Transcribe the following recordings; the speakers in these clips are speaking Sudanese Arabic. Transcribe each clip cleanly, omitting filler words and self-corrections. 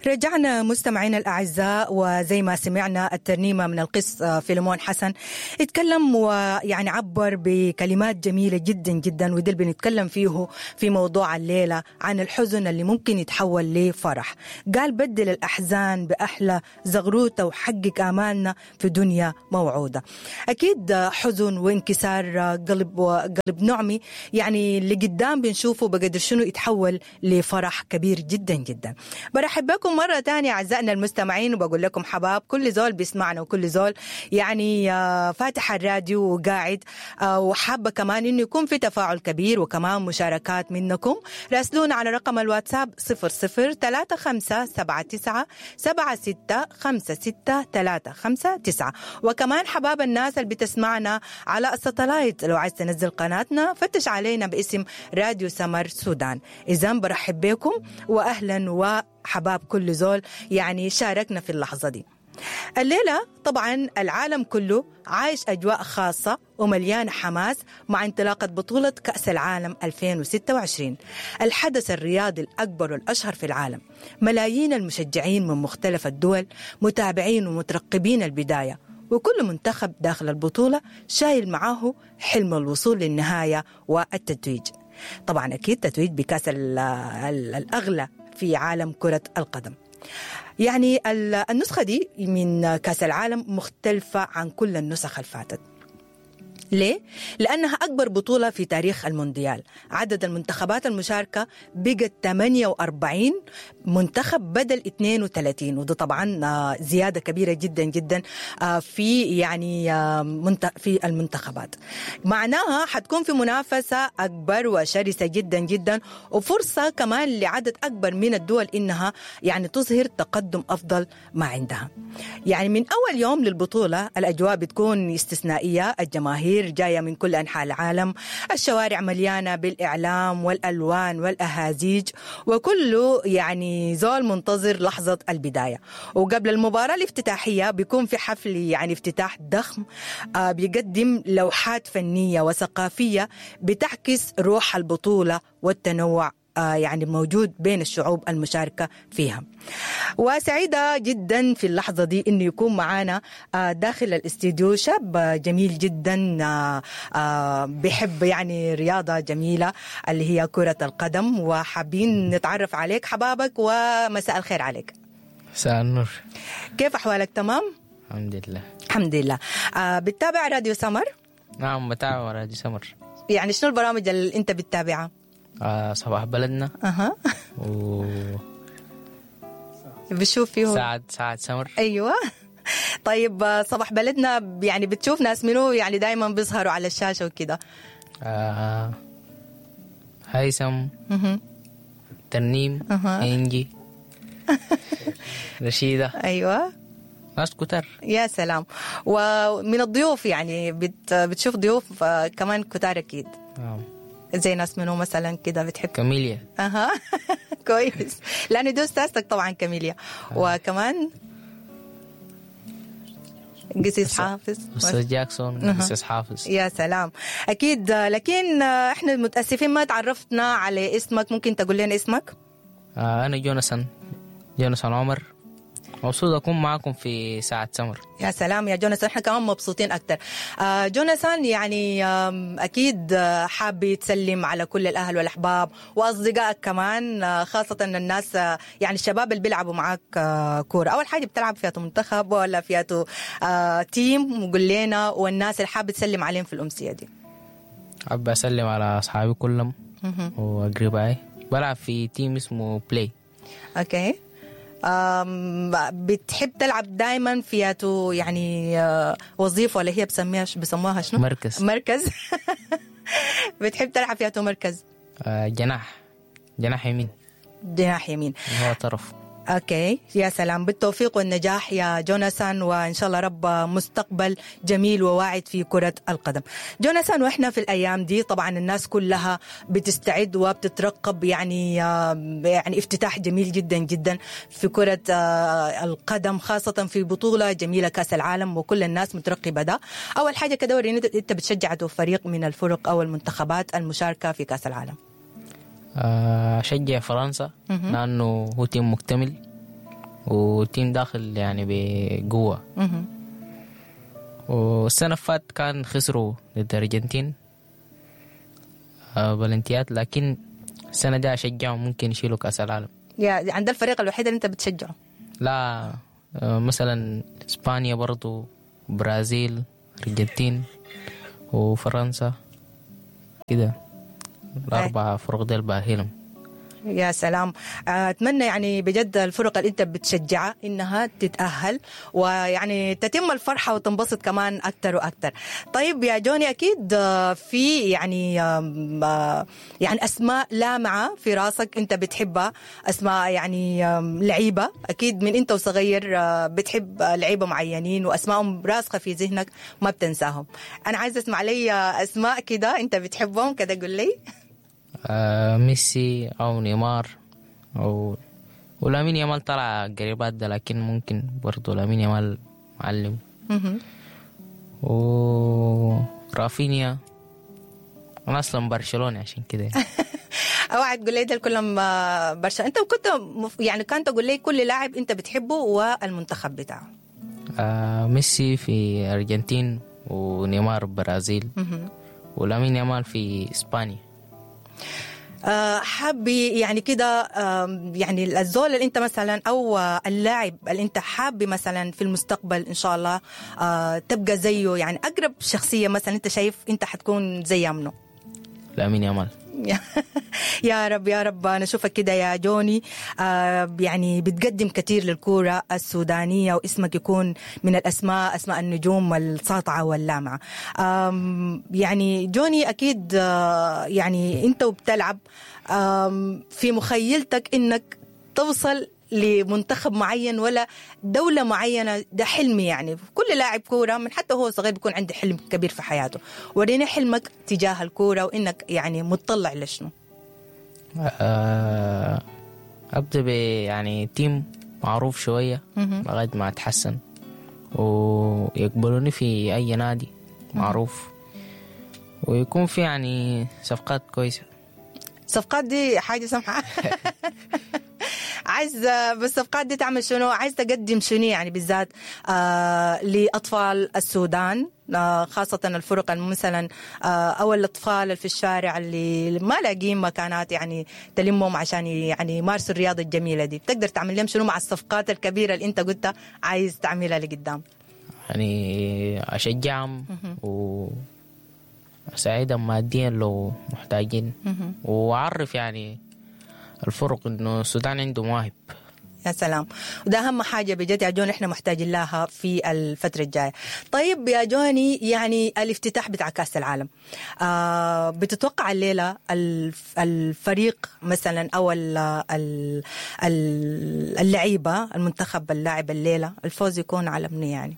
رجعنا مستمعينا الأعزاء، وزي ما سمعنا الترنيمة من القس فيلمون حسن، اتكلم ويعني عبر بكلمات جميلة جدا جدا، وده اللي بنتكلم فيه في موضوع الليلة عن الحزن اللي ممكن يتحول لفرح. قال بدل الأحزان بأحلى زغروتة وحقق آمالنا في دنيا موعودة. أكيد حزن وانكسار قلب وقلب نعمي يعني اللي قدام بنشوفه بقدر شنو يتحول لفرح كبير جدا جدا. برحب بكم مرة تانية أعزائنا المستمعين، وبقول لكم حباب كل زول بيسمعنا وكل زول يعني فاتح الراديو وقاعد، وحابة كمان إنه يكون في تفاعل كبير وكمان مشاركات منكم. راسلونا على رقم الواتساب 00 35 79 76 56 359. وكمان حباب الناس اللي بتسمعنا على الساتلايت، لو عايز تنزل قناتنا فتش علينا باسم راديو سمر سودان. إذا برحب بكم وأهلا وحباب كل زول يعني شاركنا في اللحظة دي. الليلة طبعا العالم كله عايش أجواء خاصة ومليانة حماس مع انطلاقة بطولة كأس العالم 2026، الحدث الرياضي الأكبر والأشهر في العالم. ملايين المشجعين من مختلف الدول متابعين ومترقبين البداية، وكل منتخب داخل البطولة شايل معاه حلم الوصول للنهاية والتتويج. طبعا أكيد تتويج بكأس الأغلى في عالم كرة القدم. يعني النسخة دي من كأس العالم مختلفة عن كل النسخ اللي فاتت. ليه؟ لأنها أكبر بطولة في تاريخ المونديال. عدد المنتخبات المشاركة بقت 48 منتخب بدل 32، وده طبعا زيادة كبيرة جدا جدا في يعني في المنتخبات. معناها حتكون في منافسة أكبر وشرسة جدا جدا، وفرصة كمان لعدد أكبر من الدول إنها يعني تظهر تقدم أفضل ما عندها. يعني من أول يوم للبطولة الأجواء بتكون استثنائية، الجماهير جاية من كل أنحاء العالم، الشوارع مليانة بالإعلام والألوان والأهازيج، وكله يعني زول منتظر لحظة البداية. وقبل المباراة الافتتاحية بيكون في حفل يعني افتتاح ضخم، بيقدم لوحات فنية وثقافية بتعكس روح البطولة والتنوع يعني موجود بين الشعوب المشاركة فيها. وسعيدة جدا في اللحظة دي إنه يكون معانا داخل الاستديو شاب جميل جدا، بيحب يعني رياضة جميلة اللي هي كرة القدم، وحابين نتعرف عليك حبابك، ومساء الخير عليك. مساء النور، كيف أحوالك؟ تمام؟ الحمد لله. الحمد لله. بتتابع راديو سمر؟ نعم بتابع راديو سمر. يعني شنو البرامج اللي أنت بتتابعها؟ صباح بلدنا. اها. و بشوف فيه ساعة سمر. ايوه. طيب صباح بلدنا يعني بتشوف ناس منو يعني دايما بيظهروا على الشاشة وكده؟ هيثم، ترنيم، انجي، رشيدة. ايوه، ناس كتر. يا سلام. ومن الضيوف يعني بتشوف ضيوف كمان كتار اكيد؟ نعم. زي ناس منو مثلا كده بتحب؟ كاميليا. اها. كويس، لانه دي استاذتك طبعا كاميليا. وكمان قسيس حافظ، استاذ جاكسون، قسيس حافظ. يا سلام، اكيد. لكن احنا متاسفين ما تعرفنا على اسمك، ممكن تقول لنا اسمك؟ انا جوناثان، جوناثان عمر. مبسوط أكون معكم في ساعة سمر. يا سلام يا جوناثان، احنا كمان مبسوطين أكتر. جوناثان يعني أكيد حاب تسلم على كل الأهل والأحباب وأصدقائك كمان، خاصة الناس يعني الشباب اللي بيلعبوا معاك كورة. أول حاجة بتلعب فيها منتخب ولا فيها team؟ وقول لنا، والناس اللي حابة تسلم عليهم في الأمسية دي. حابة أسلم على أصحابي كلهم وأقربائي. بلعب في team اسمه بلاي. okay. بتحب تلعب دايما فياتو يعني وظيفة ولا هي بسموها شنو؟ مركز. مركز. بتحب تلعب فياتو مركز؟ جناح، جناح يمين. جناح يمين، هو طرف. okay، يا سلام. بالتوفيق والنجاح يا جوناثان، وان شاء الله رب مستقبل جميل وواعد في كرة القدم. جوناثان، واحنا في الايام دي طبعا الناس كلها بتستعد وبتترقب يعني افتتاح جميل جدا جدا في كرة القدم، خاصة في بطولة جميلة كأس العالم، وكل الناس مترقبة ده. اول حاجة كده وريني، انت بتشجع فريق من الفرق او المنتخبات المشاركة في كأس العالم؟ أشجع فرنسا لأنه هو team مكتمل، و team داخل يعني بقوة. والسنة فات كان خسروا ضد الأرجنتين بلنتيات، لكن السنة دي أشجعهم ممكن يشيلوا كأس العالم. يا عند الفريق الوحيد اللي أنت بتشجعه؟ لا، مثلا إسبانيا برضو، برازيل، أرجنتين وفرنسا كده، الأربعة فرق ديل باهلهم. يا سلام، أتمنى يعني بجد الفرق اللي أنت بتشجعها إنها تتأهل ويعني تتم الفرحة وتنبسط كمان أكتر وأكتر. طيب يا جوني، أكيد في يعني يعني أسماء لامعة في راسك أنت بتحبها، أسماء يعني لعيبة، أكيد من أنت وصغير بتحب لعيبة معينين وأسمائهم راسخة في ذهنك ما بتنساهم. أنا عايزة أسمع لي أسماء كده أنت بتحبهم كده، قول لي. ميسي أو نيمار أو ولامين يامال طلع قريبات ده، لكن ممكن برضو لامين يامال معلم. ورافينيا، أنا أصلا برشلوني عشان كده. اوعى تقول لي ده كلهم برشلونة. أنت كنت يعني كان تقول لي كل لاعب أنت بتحبه والمنتخب بتاعه. ميسي في أرجنتين، ونيمار برازيل، ولامين يامال في إسبانيا. حابي يعني كده، يعني الزول اللي انت مثلا او اللاعب اللي انت حابي مثلا في المستقبل ان شاء الله تبقى زيه، يعني اقرب شخصية مثلا انت شايف انت حتكون زي منه؟ لامين يامال. يا رب يا رب نشوفك كده يا جوني، يعني بتقدم كثير للكورة السودانية واسمك يكون من الأسماء، أسماء النجوم الساطعة واللامعة. يعني جوني أكيد يعني أنت وبتلعب في مخيلتك إنك توصل لمنتخب معين ولا دولة معينة، ده حلمي يعني كل لاعب كورة من حتى هو صغير بيكون عنده حلم كبير في حياته. وريني حلمك تجاه الكورة وإنك يعني متطلع لشنو؟ أبدأ ب يعني team معروف شوية لغاية ما أتحسن ويقبلوني في أي نادي معروف، ويكون في يعني صفقات كويسة. صفقات دي حاجة سمحة. عايز بالصفقات دي تعمل شنو؟ عايز تقدم شنو يعني بالذات لأطفال السودان، خاصة الفرق مثلا أو الأطفال اللي في الشارع اللي ما لاقيين مكانات يعني تلمهم عشان يعني يمارسوا الرياضة الجميلة دي، تقدر تعمل لهم شنو مع الصفقات الكبيرة اللي أنت قلت عايز تعملها لقدام؟ يعني أشجعهم وأساعدهم ماديا لو محتاجين، وأعرف يعني الفرق إنه السودان عنده مواهب. يا سلام، وده أهم حاجة بجد يا جوني، إحنا محتاجين لها في الفترة الجاية. طيب يا جوني، يعني الافتتاح بتاع كأس العالم، بتتوقع الليلة الفريق مثلا أو اللعيبة المنتخب اللاعب الليلة الفوز يكون على منو يعني؟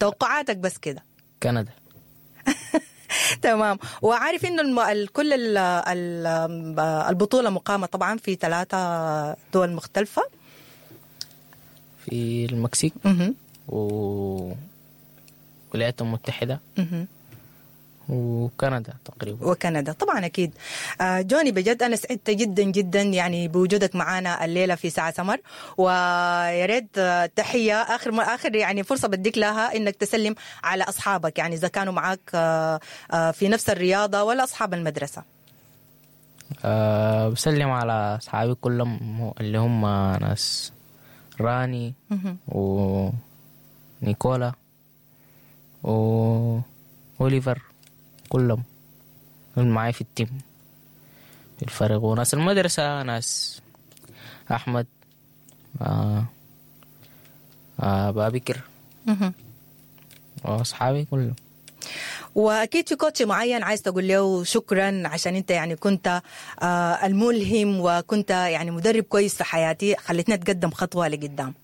توقعاتك بس كده. كندا. تمام. وعارف انه كل البطولة مقامة طبعا في 3 دول مختلفة، في المكسيك والولايات المتحدة وكندا تقريبا. وكندا طبعا اكيد. جوني بجد انا سعدت جدا جدا يعني بوجودك معنا الليلة في ساعة سمر، ويا ريت تحية اخر يعني فرصة بديك لها انك تسلم على اصحابك، يعني اذا كانوا معاك في نفس الرياضة ولا اصحاب المدرسة. بسلم على اصحابي كلهم اللي هم ناس راني ونيكولا واوليفر، كلهم معي في ال team في الفريق، وناس المدرسة ناس أحمد بابكر وأصحابي كلهم. وأكيد في coach معين عايز تقول له شكرا عشان أنت يعني كنت الملهم وكنت يعني مدرب كويس في حياتي، خلتني أتقدم خطوة لقدام.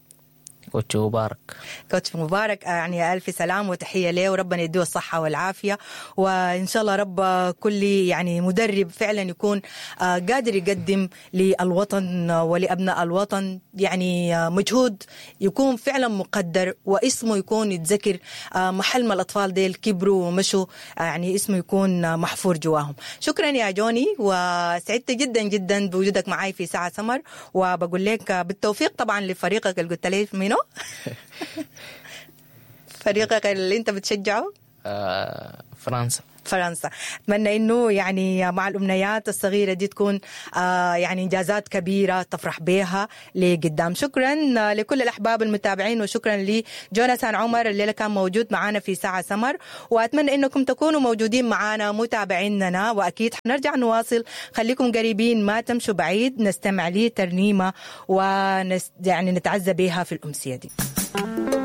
coach مبارك. coach مبارك، يعني ألف سلام وتحية له، وربنا يديه الصحة والعافية، وإن شاء الله رب كل يعني مدرب فعلا يكون قادر يقدم للوطن ولأبناء الوطن يعني مجهود يكون فعلا مقدر، واسمه يكون يتذكر محل ما الأطفال ديل كبروا ومشوا، يعني اسمه يكون محفور جواهم. شكرا يا جوني، وسعدت جدا جدا بوجودك معي في ساعة سمر، وبقول لك بالتوفيق طبعا لفريقك اللي قلت لي منه فريقك اللي انت بتشجعه. فرنسا. فرنسا. اتمنى انه يعني مع الامنيات الصغيرة دي تكون يعني انجازات كبيرة تفرح بها لقدام. شكرا لكل الاحباب المتابعين، وشكرا لجوناثان عمر الليلة كان موجود معنا في ساعة سمر، واتمنى انكم تكونوا موجودين معنا متابعيننا، واكيد حنرجع نواصل. خليكم قريبين ما تمشوا بعيد، نستمع لي ترنيمة يعني نتعزى بها في الامسيه دي.